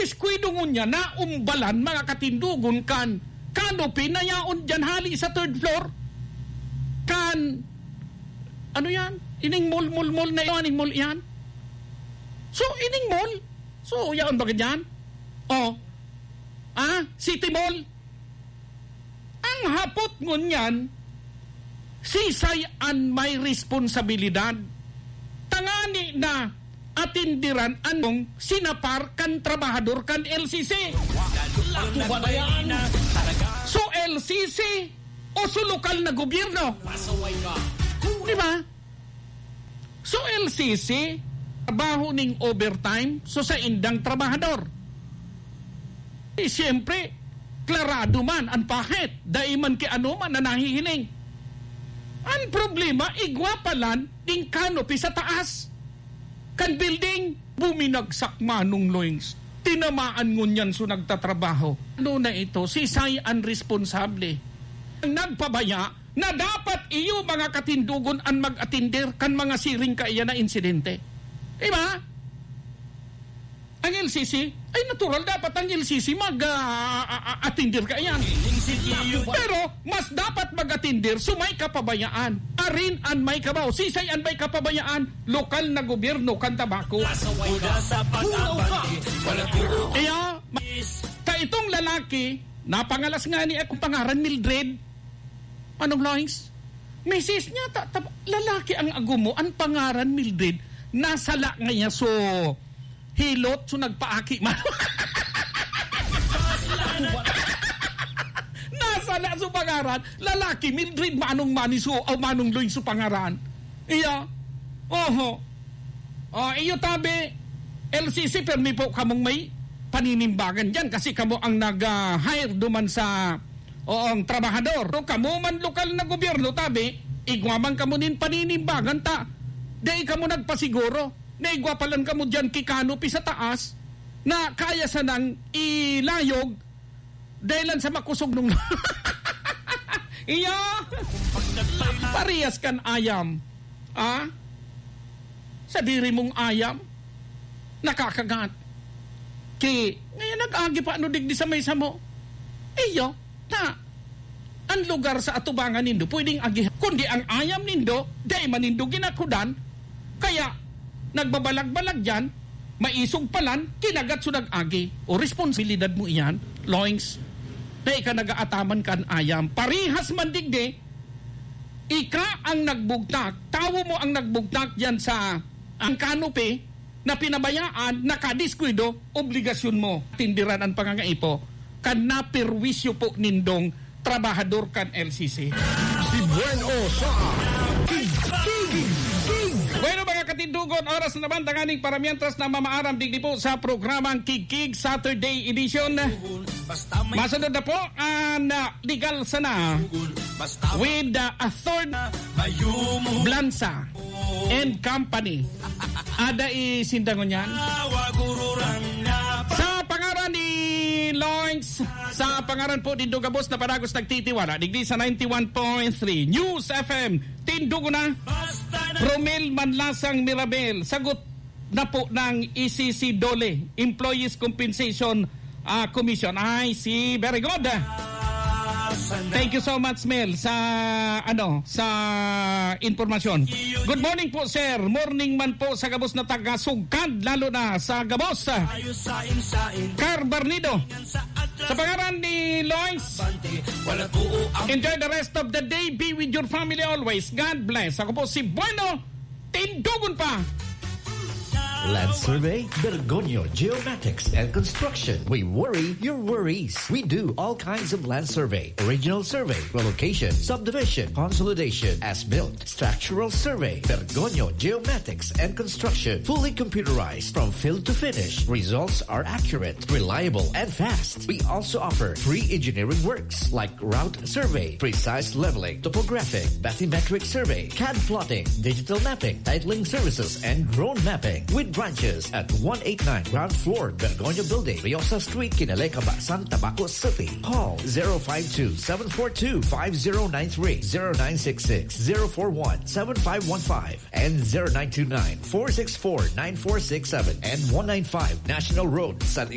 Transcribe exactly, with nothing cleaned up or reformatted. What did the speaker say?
Diskuido ngunyan, naumbalan, mga katindogon, kan canopy na yaon dyan hali sa third floor. Kan, ano yan? Ining mall, mall, mall na yan, ining mall yan. So, ining mall. So, yaon ba ganyan? Oh. Ah, City Mall. Ang hapot ngunyan, sisay an may responsabilidad? Tangani na atindiran anong sinapar kan trabahador kan L C C. Lato ba na yan? So, L C C o so lokal na gobyerno? Di ba? So, L C C, trabaho ning overtime, so sa indang trabahador. Eh, siyempre, klarado man an pahet, dai man ki ano man na nahihiling. Ang problema, igwa pa lang ning canopy sa taas kan building, buminagsak, Manong Loings. Tinamaan ngunyan so nagtatrabaho. Ano na ito? Sisay an responsable? Ang nagpabaya na dapat iyo, mga katindogon, an mag-atender kan mga siring kaiyan na insidente. Di ba? Ang L C C, ay natural, dapat ang L C C mag, ah, ah, ah, atender kaiyan. Pero mas dapat mag-atender so may kapabayaan. Arin an may kabaw. Sisay an may kapabayaan? Lokal na gobyerno kan Tabaco. Hulaw ka! Kaya, ma-, ta itong lalaki, napangalas nga ni akong pangaran, Mildred. Anong lines? Misis niya, ta-, ta-, lalaki ang ago mo, ang pangaran Mildred, nasala nga niya, so, hilot, so nagpaaki man. Nasala so pangaran, lalaki, Mildred, Manong Mani, so, o Manong Loy, so pangaran. Iya. Oho. O, iyo tabi, L C C, permi po kamong may paninimbagan diyan kasi kamo ang nag, ah, hire duman sa, oong, trabahador. Pero kamo man lokal na gobyerno, tabi, igwa man kamo nin paninimbagan ta. Dai kamo nagpasiguro na igwa pa lang kamo diyan ki canopy sa taas na kaya sanang ilayog dai lang sa makusog nung iyo. Parehas kan ayam. Ah? Sadiri mong ayam, nakakagat. Ki, ngayon nag-agi pa ano digdi sa may samo. Iyo, ta, ang lugar sa atubangan nindo, pwedeng agihan. Kundi ang ayam nindo, dai man nindo ginakudan, kaya nagbabalag-balag diyan, maisog palan, kinagat so nag-agi. O responsibilidad mo iyan, Loings, na ika nag-aataman kan ayam. Parihas man digdi, ika ang nagbugtak, tawo mo ang nagbugtak diyan sa ang canopy na pinabayaan, nakadiskuido, obligasyon mo tindiran ang pangangaipo kan naperwisyo po nindong trabahador kan L C C. Si Bueno sa King, King, King. Bueno, mga katindogon, oras na naman tanganing para mientras na mamaaram digdi po sa programang Kigkig Saturday Edition. Masunod na po ang, ah, legal sana with, ah, a third Blansa and Company. Ada i sindangon yan. Sa pangaran ni Loings, sa pangaran po ni Dugabos na Panagos nagtitiwala, digdi sa ninety-one point three News F M, Tindugo na, Romel Manlasang Mirabel, sagot na po ng E C C DOLE, Employees Compensation, ah, Commission. I see. Very good. Thank you so much, Mel, sa, ano, sa impormasyon. Good morning po, sir. Morning man po sa gabos na taga Sugkad, lalo na sa gabos. Carbarnido. Sa pangaran ni Lois, enjoy the rest of the day. Be with your family always. God bless. Ako po si Bueno Tindugon pa. Land Survey, Bergonyo Geomatics and Construction. We worry your worries. We do all kinds of land survey, original survey, relocation, subdivision, consolidation, as-built, structural survey. Bergonyo Geomatics and Construction, fully computerized from field to finish. Results are accurate, reliable, and fast. We also offer free engineering works like route survey, precise leveling, topographic, bathymetric survey, cad plotting, digital mapping, titling services, and drone mapping. With branches at one eight nine ground floor, Bergoño Building, Riosa Street, Kinalekaba, San Tabaco City. Call zero five two, seven four two, five zero nine three, zero nine six six, zero four one, seven five one five, and zero nine two nine, four six four, nine four six seven and one nine five National Road, San